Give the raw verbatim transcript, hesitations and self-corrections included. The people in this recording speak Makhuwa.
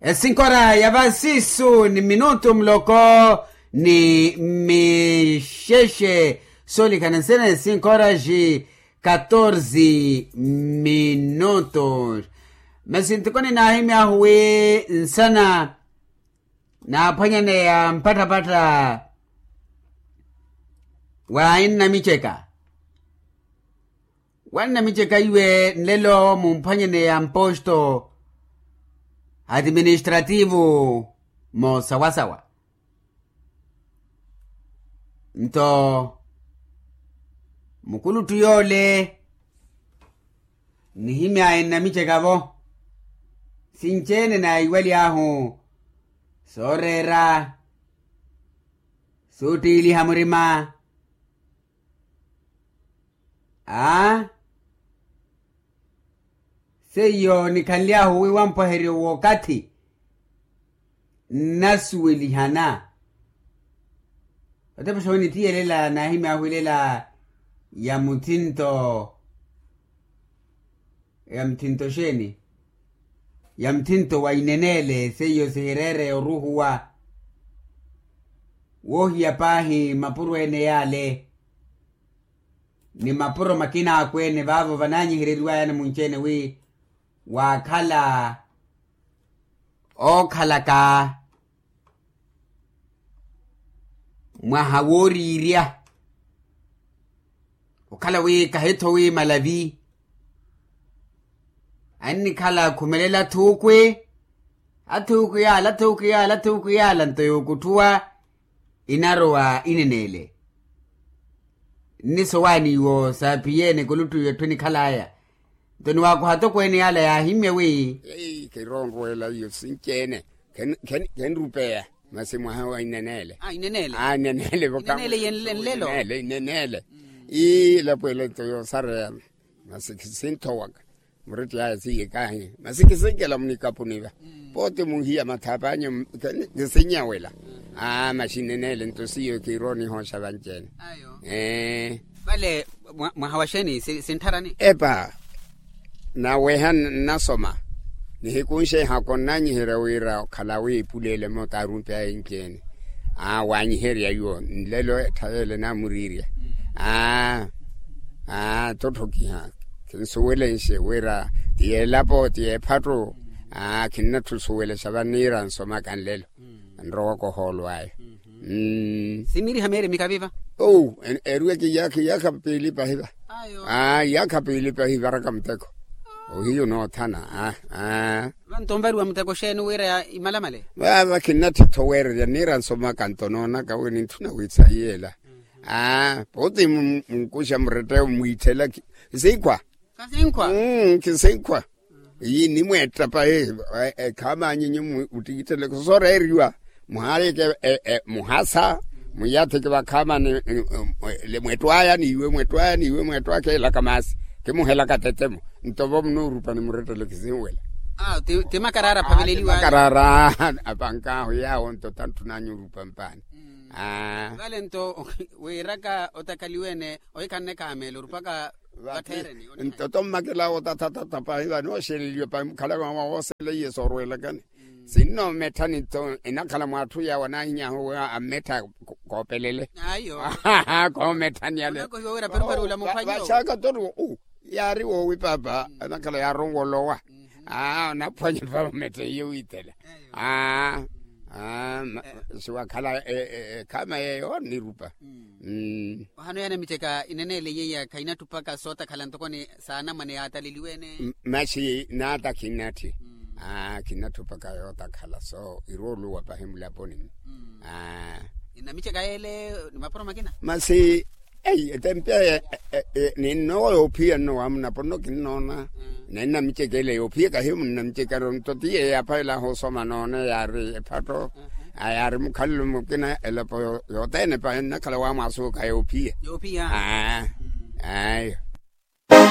Esinkora ya vasisu ni minutu muloko ni mixexe. Soolikhana nsina esinkora xi katorze minutu. Masi ntikoni naahimyahu wi nsana naaphwanyaneya mpatthapatha wa ennamiceka. Wannamiceka iwe nlelo mumphwanyeneya mposto administrativu moosawasawa. Nto mukuluttu yoole nihimyaya ennamiceka-vo. Sinci-ene naiwaly'ahu sooreera suuttiiliha murima. Aa seiyo nikhanly'ahu wi wampwaheryo w'okathi nnasuwelihana. Otepa xoowe nitiyelela naahimy'ahu ilela ya muthinto ya muthinto xeeni? Ya muthinto wa ineneele seiyo sihireere oruhuwa woohiya paahi mapuro ene yaale ni mapuro makina akweene vaavo vanaanyihereriwayani munci-ene wi waakhala ookhalaka mwaha wooriirya okhala wi kahi-tho wi malavi annikhala akhumelela athuukwi athuukwi yaala athuukwi yaala athuukwi yaala nto yookutthuwa inarowa ineneele. Nnisowaani iwo saaphiyeene kuluttu iwe etthu enikhalaya nto niwaakuha atokweene yaala yaahimmye wi kiroonrweela iyo sinci-ene khenrupeya. Masi mwaha wa ineneele ineneele ineneele yenle nlelo ineneele ineneele. Ii elapo ele nto yoosareya masi khisinthowaka muretti aya siiye kahi masi khisinkela munikapuniva. Pooti muhiya mathaapanyu kisinyawela. Aa maxinenele nto siiyo kiiroonihooxa vanci-ene. Vale mwaha wa xeeni sintharani? Epa naweha nnasoma nihikunxe ehako nnanyiherya wira okhala wi epuleele moota aarumpi aya enci-ene. Aa waanyiherya iwo nlelo ettha yeele naamuriirya. Aa aa totthokiha khinsuwelenxe wira ti yeelapo ti yeephattu. Aa khinnatthu suwelexa vaniira nsomaka nlelo nrowaka ohoolo aya. Simiriha meeremika viva? Ou eriweke iyaakha iyaakha piili pahiva. Aa iyaakha piili pahivaraka muteko ohiyu noothana. Aa vanto onvariwa muteko xeeni wira imalamale? Vaava khinnatthi-tho weererya niira nsomaka nto noonaka wi nintthuna wi saiyela. Aa pooti munkuxa muretteyo mwiitthela khisinkhwa. Khisinkhwa. Iyi nimweetta pahi ekhaama anyinyu muttikittele khusooreeriwa muhaaleke muhasa mwiyatheke vakhaamani. Mwettwaya niiwe mwettwaya niiwe mwettwaya kheelaka maasi kimuhelaka tetemo nto vo munoorupa nimurettele khisinwela. Ti makaraara aphaveleliwa makaraara apankaahu yaawo nto tantthunanyu orupa mpaani. Vale nto wiiraka otakhaliwene ohikhanne kaameela orupaka vakheereni nto tommakela otathatatha pahi vanooxeleliwa pahi mukhalaka mwawa wooseleiye soorwelakani. Sinno mmetthani nto enakhala mwaatthu yaawo anaahinyaahu wi ammettha koopelele. Koometthani ale vaxaaka ttoriwo u yaari woowi paapa anakhala yaaronwa olowa. Aa onaphwanya paapa ometthe iyo wiithela. Aa aa siwakhala ekhaama yeeyo nirupa. Ohano yaana miteka ineneele yeiya khainatthupaka sootakhala ntokoni saanamwane yaataleliwe-ene. Masi naata khinatthi. Aa khinatthupaka yootakhala so irooluwa pahi mulaponi-mu. Aa nnamiceka yeele ni mapuro makina masi ei etempi aya. Ninnowa yoophiya nno waamunapo nno kinnoona. Nennamiceka ele yoophiya kahiyo munnamiceka nto ti yeeyo aphavelaahu osoma noone yaari ephatto. Aa yaari mukhalelo mukina elapo yothene pahi nnakhala waamwaasuwaka yoophiya. Yoophiya. Aa aa